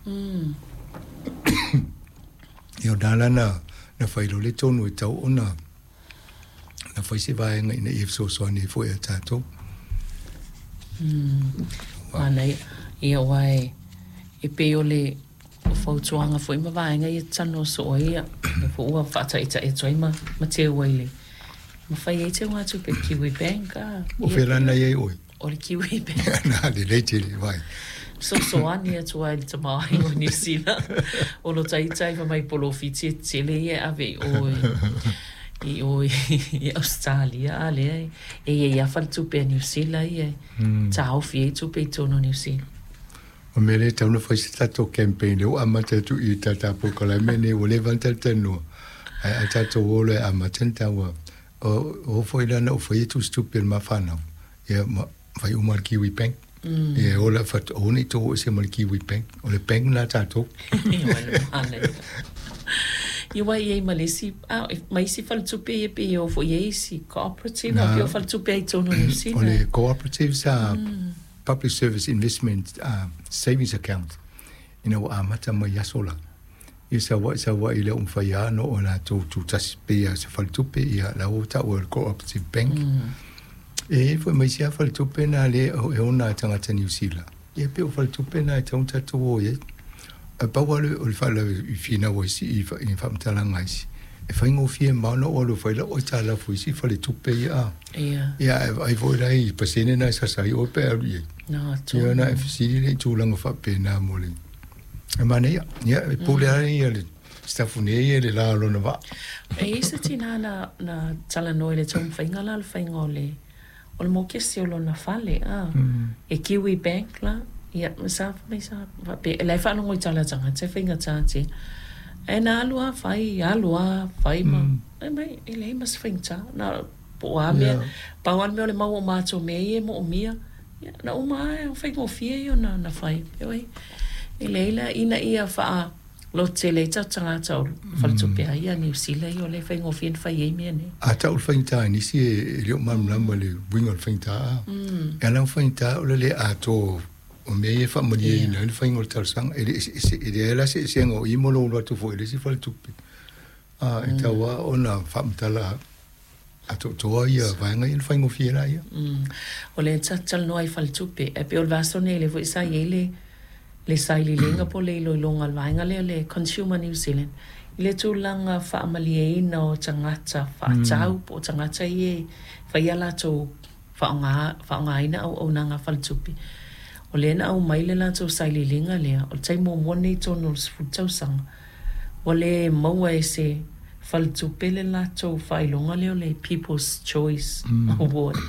Ia o lena la na fai loa le tonu e tatau ona na fai se vaega ina ia fesoasoani ai foi ia tatou. Manaia. Ia aua e pei o le fautuaga foi ma vaega ia e talanoa soo ai ia, lea foi ua faataitai atu ai ma teu ai i le ma fai ai teugatupe i le Kiwi Bank a. O fea la na i ai oe? O le Kiwi Bank. Na, lelei tele, vai. Fesoasoani atu ai i le tamaoaiga o Niu Sila. O lo ta ita ai fai mai polofiti e tele ia e ave i o i o i Ausetalia a lea e i ai lava faletupe a Niu Sila ia e taofi ai tupe i totonu o Niu Sila. O mea lea e tatau ona fai se tatou campaign lea ua amata atu i tata polokalame lenei ua leva ona talatalanoa ae a tatou o loa e amata ona taua o foi la na ou faia tusitupe a le ma fanau ia ma fai uma le Kiwi Bank. Ia e ola fatu aua ne i tou o ese ma le Kiwi Bank. O le bank lena a tatou. Ia ua i ai ma le isi, ma isi faletupe ia pei e o foi i ai isi cooperative a pei o faletupe ai i totonu o Niu Sila. O le cooperatives a Public Service Investment Savings Account ina ua amata mai aso la. Ia Savaii Savaii le mafai lava ona oo latou tutasi pei lava o se faletupe ia la ua taua e le Cooperative Bank. E i ai foi ma isi lava faletupe na lea e ona e tagata Niu Sila, ia pei o faletupe na e tatau ona tatou o i ai. Ae pau lava o le faalavelave i finau a isi i faamatalaga a isi, e faigofie ma ona ou alu e fai lau aitalafu i isi faletupe ia a. Ia ae vaai foi la i pasene na e sasa ai oe pe a alu i ai. Ia ona e fesili lea i tulaga faapena mo le E manaia, ia, e pule lava ia le Sitafune ia i le la o lona vaa. E i ai se tinā na, na talanoa i le taumafaiga la o le faiga o le, o le mokesi o lona fale, a, e Kiwi Bank la, ia, sa fai mai sa faapea, la e faalogo i tala a tagata e faigata tele. Ae na alu lava fai, alu lava fai ma, fai mai, e leai ma se faigata, na, po o a mea, pau lava le mea o le mau o matou mea ia e moomia, Ia, na uma lava, o faigofie ia ona na fai. Heoi, e leai la, ina ia faalototele ai tatou tagata o faletupe a ia a Niu Sila ia o lea e faigofie ona fai ai mea nei. A tau le faigata i nisi e le o malamalama i le uiga o le faigata, a. E ala ona faigata o le le atoa o mea ia e faamalieina ai le faiga o le talosaga. E le eseese, e leai la se eseesega o i ma lou alu atu foi i le isi faletupe. A, e tatau lava ona faamatala atoatoa ia vaega ia ona faigofie laia. O lea ta te talanoa i faletupe, ae pei o le vaiaso nei lea foi sa i ai le le sailiiliga po o le iloiloga a le vaega lea le Consumer New Zealand i le tulaga faamalieina o tagata faatau po o tagata ia e fai a latou faaaoga faaaogaina auaunaga a faletupe. O lea na aumai le latou sailiiliga lea, o le taimi muamua lenei i totonu o le 10 tausaga ua le maua e se faletupe le latou faailoga lea o le People's Choice Award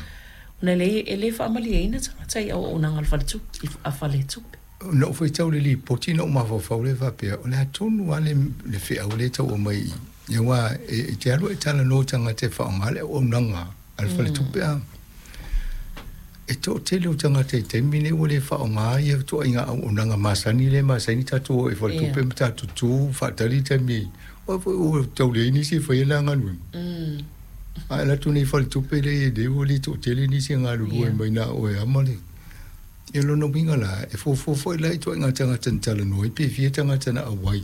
ona e leai e le faamalieina tagata i auaunaga a le faletupe a faletupe. Na ou faitau i le lipoti na ou mafaufau lea faapea, o le a tonu lava le le feau lea e tau aumai i i, aua e te alu e talanoa i tagata e faaaoga le auaunaga a le faletupe a. E toatele o tagata i taimi nei ua le faaaoga ia ituaiga auaunaga masani lea e masani tatou o i faletupe ma tatou tu faatali taimi aua foi ua tau leai nisi e faia la galuega. A e alu atu nei i faletupe lea e i ai nei ua le toatele nisi e galulue mai na o oe lava ma le. Ia lona uiga la, e fuafua foi la i ituaiga tagata na talanoa ai pe fia tagata na auai.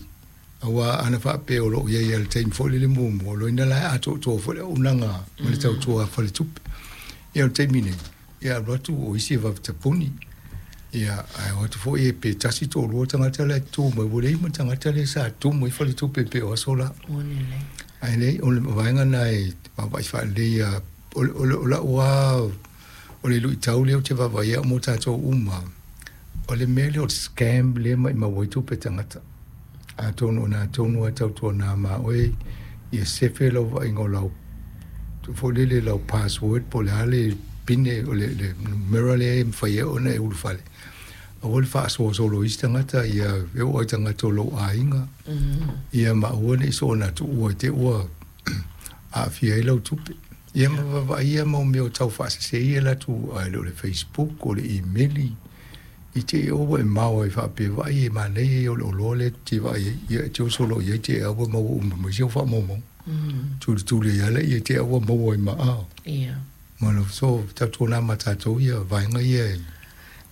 Aua ana faapea o lo o i ai lava i le taimi foi lele muamua, o lona la e atoatoa foi le auaunaga ma le tautua a faletupe. Ia o le taimi nei, ia alu atu o isi e vave tapuni, ia ae o atu foi e pe tasi toalua tagata la e tu mai, ua leai ma tagata lea sa tumu ai faletupe pei o aso la. Ae leai, o le vaega lena e vaavaai faalelei lava. O, o, o lau lava, o le luitau lea ou te vaavaai au mo tatou uma, o le mea lea o le scam lea e maimau ai tupe tagata. Atonu o na tonu a tautuana ma oe ia sefe lau vaaiga o lau foi lele lau password po o le a le pine o le le numera lea e mafai ai ona e ulufale. Aua le faasoa solo i isi tagata ia e oo lava i tagata o lou aiga ia ma aua ne i soona tuua i te i ua aafia ai lau tupe. Ia ma vaavaai ia mau mea o tau faasese ia latou a e le o le Facebook o le imeli. I te i ua e mao ai faapea, Vaai e manaia ia o le oloa lea e te vaai ai, ia e te oso loa i ai te au e maua uma mai si au faamaumauga. Tulituli ai lava lea te au ua maua ai ma ao. Ma lo so tautuana ma tatou ia vaega ia e.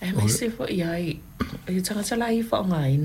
Aemaise foi ai i tagata la ia e faaaogaina.